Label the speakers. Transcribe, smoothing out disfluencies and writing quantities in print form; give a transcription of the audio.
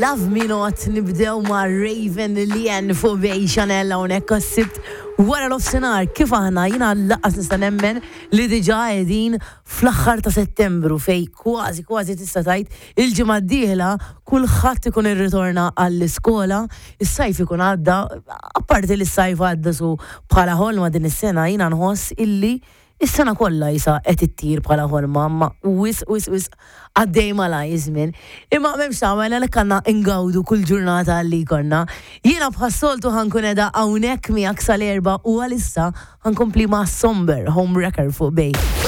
Speaker 1: Love Me Not nibdew ma' Raven Leanne fuq Bay Chanel hawnhekk għas-Sibt wara nofsinhar. Kif aħna jiena lanqas nista' nemmen li diġà qegħdin fl-aħħar ta' Settembru fejn kważi kważi tista' tgħid il-ġimgħa d-dieħla kulħadd ikun irritorna għall-iskola, is-sajf ikun għadda, apparti li s-sajf għadda su bħala ħolma din is-sena jiena nħoss illi Is-sena kollha isa qed ittir bħala ħolma, imma wisq wisq wisq għaddej malajr iż-żmien. Imma m'hemmx tagħmel għalhekk għandna ngawdu kull ġurnata li jkollna. Jiena bħas-soltu ħa nkun qiegħda hawnhekk miegħek sal-erbgħa u għalissa ħa nkompli ma' Somber Homewrecker fuq Bay.